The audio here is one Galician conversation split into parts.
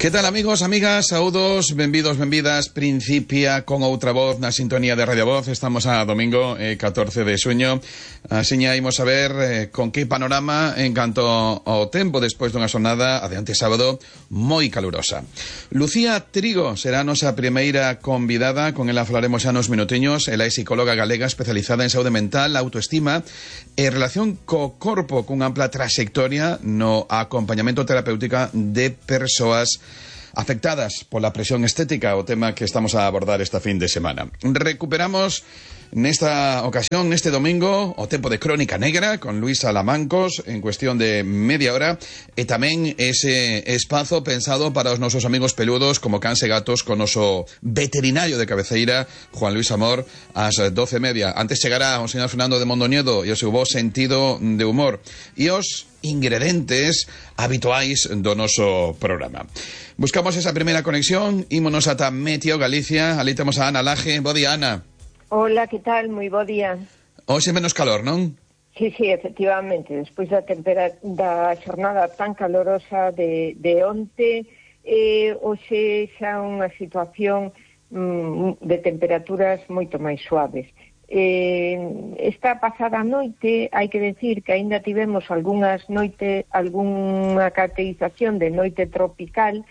Que tal, amigos, amigas, saúdos, benvidos, benvidas. Principia con outra voz na sintonía de Radio Voz. Estamos a domingo, 14 de xuño. Asiña imos a ver con que panorama en canto ao tempo despois dunha xornada adiante sábado moi calurosa. Lucía Trigo será a nosa primeira convidada. Con ela falaremos xa nos minutiños. Ela é psicóloga galega especializada en saúde mental, autoestima e relación co corpo, cunha ampla trayectoria no acompañamento terapéutica de persoas afectadas pola presión estética, o tema que estamos a abordar esta fin de semana. Recuperamos nesta ocasión, neste domingo, o tempo de Crónica Negra con Luisa Lamancos en cuestión de media hora, e tamén ese espazo pensado para os nosos amigos peludos como cans e gatos con noso veterinario de cabeceira, Juan Luis Amor, ás 12:30. Antes chegará o señor Fernando de Mondoñedo e o seu bo sentido de humor e os ingredientes habituais do noso programa. Buscamos esa primeira conexión, ímonos ata Meteo Galicia. Ali temos a Ana Laje. Bo día, Ana. Hola, que tal? Moi bo día. Hoxe menos calor, non? Sí, efectivamente. Despois da xornada tan calorosa de onte, hoxe xa unha situación de temperaturas moito máis suaves. Esta pasada noite, hai que decir que aínda tivemos algunha caracterización de noite tropical,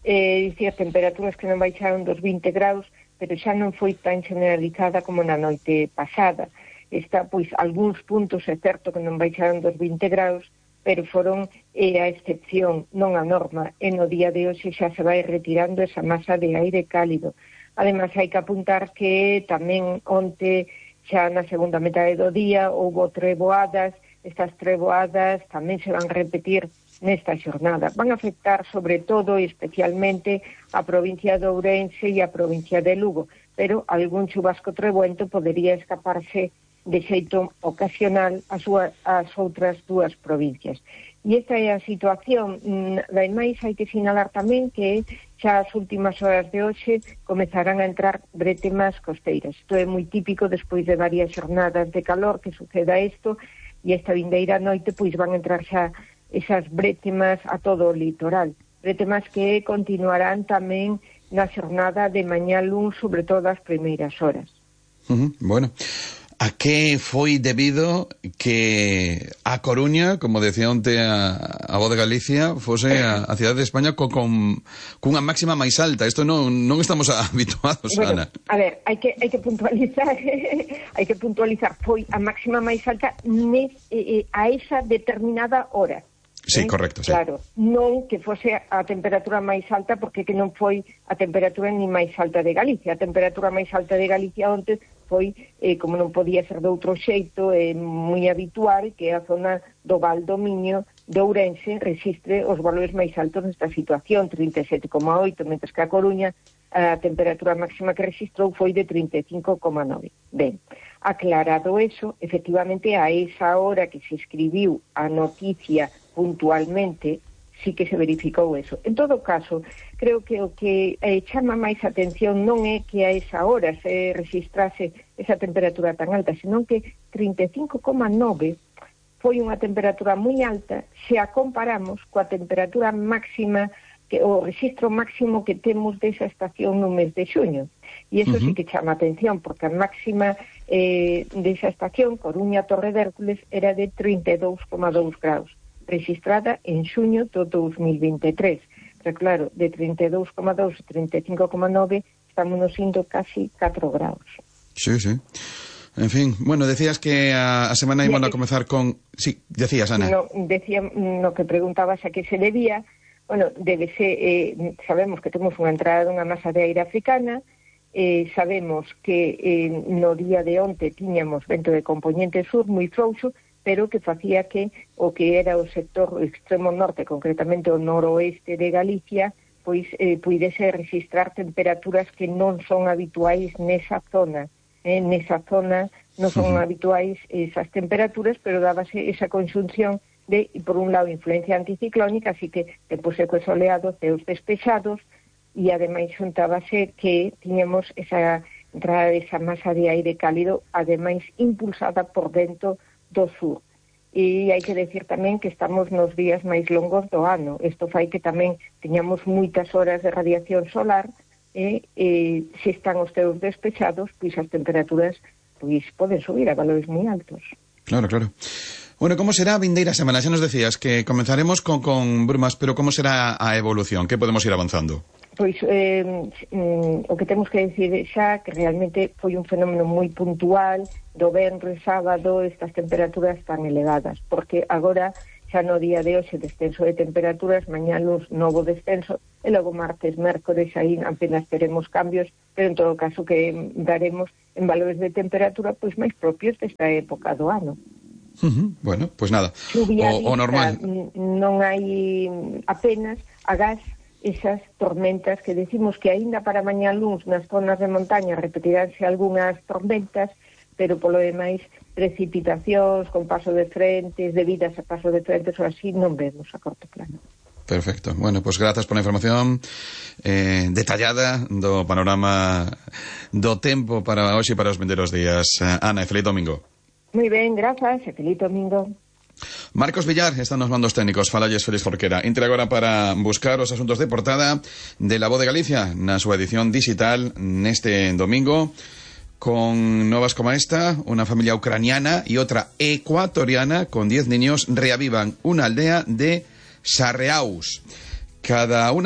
dicir, temperaturas que non baixaron dos 20 graus, pero xa non foi tan generalizada como na noite pasada. Está, pois, algúns puntos, é certo que non baixaron dos 20 graus, pero foron a excepción, non a norma, e no día de hoxe xa se vai retirando esa masa de aire cálido. Ademais, hai que apuntar que tamén onte, xa na segunda metade do día, houbo treboadas. Estas treboadas tamén se van repetir nesta xornada. Van afectar sobre todo e especialmente a provincia de Ourense e a provincia de Lugo, pero algún chubasco treboento podería escaparse de xeito ocasional ás outras dúas provincias. E esta é a situación. Ademais, hai que sinalar tamén que xa as últimas horas de hoxe comezarán a entrar brétemas costeiras. Isto é moi típico despois de varias xornadas de calor que suceda isto, e esta vindeira noite pois van entrar xa esas brétemas a todo o litoral. Brétemas que continuarán tamén na xornada de mañá luns, sobre todo as primeiras horas. Bueno, a que foi debido que a Coruña, como decía onte a Voz de Galicia, fose a cidade de España cunha máxima máis alta? Isto non estamos habituados, bueno, Ana. A ver, hai que puntualizar hai que puntualizar, foi a máxima máis alta a esa determinada hora. Sí, correcto, sí. Claro, non que fose a temperatura máis alta, porque que non foi a temperatura ni máis alta de Galicia. A temperatura máis alta de Galicia onte foi, como non podía ser de outro xeito, moi habitual que a zona do Val do Miño de Ourense resistre os valores máis altos nesta situación, 37,8, mentres que a Coruña a temperatura máxima que registrou foi de 35,9. Ben, aclarado eso, efectivamente a esa hora que se escribiu a noticia puntualmente, sí que se verificou eso. En todo caso, creo que o que chama máis atención non é que a esa hora se registrase esa temperatura tan alta, senón que 35,9 foi unha temperatura moi alta se a comparamos coa temperatura máxima, o registro máximo que temos desa estación no mes de xuño. E iso sí que chama atención, porque a máxima desa estación, Coruña-Torre de Hércules, era de 32,2 graus, registrada en xuño do 2023. Pero claro, de 32,2 a 35,9 estamos indo casi 4 graus. Sí. En fin, bueno, decías que a semana íbamos a comezar con... Sí, decías, Ana. Decía, no que preguntabas a que se debía. Bueno, sabemos que temos unha entrada dunha masa de aire africana, sabemos que no día de onte tiñamos vento de componente sur moi frouxo, pero que facía que o que era o sector extremo norte, concretamente o noroeste de Galicia, pois puidese registrar temperaturas que non son habituais nesa zona. Nesa zona non son habituais esas temperaturas, pero dábase esa conxunción de, por un lado, influencia anticiclónica, así que tempo seco e soleado, ceos despexados, e ademais xuntábase que tiñamos esa entrada desa masa de aire cálido, ademais impulsada por vento do sur. E hai que decir tamén que estamos nos días máis longos do ano. Isto fai que tamén teñamos moitas horas de radiación solar e se están os teus despechados, pois as temperaturas pois poden subir a valores moi altos. Claro, claro. Bueno, como será a vindeira semana? Xa nos decías que comenzaremos con brumas, pero como será a evolución? Que podemos ir avanzando? Pois o que temos que decir xa que realmente foi un fenómeno moi puntual do venres, sábado, estas temperaturas tan elevadas, porque agora xa no día de hoxe descenso de temperaturas, mañá luz novo descenso, e logo martes, mércores, aí apenas teremos cambios, pero en todo caso que daremos en valores de temperatura pois máis propios desta época do ano. Bueno, pues nada, o normal. Non hai apenas agás esas tormentas que decimos que aínda para mañá luns nas zonas de montaña repetiránse algunhas tormentas, pero polo demais precipitacións con paso de frentes, debidas a paso de frentes ou así, non vemos a corto plano. Perfecto. Bueno, pues grazas por a información detallada do panorama do tempo para hoxe e para os vindeiros días. Ana, e feliz domingo. Moi ben, grazas, e feliz domingo. Marcos Villar está nos mandos técnicos. Falalles Félix Jorquera. Entre agora para buscar os asuntos de portada de La Voz de Galicia na súa edición digital neste domingo, con novas como esta: una familia ucraniana y otra ecuatoriana con 10 niños reavivan una aldea de Sarreaus. Cada una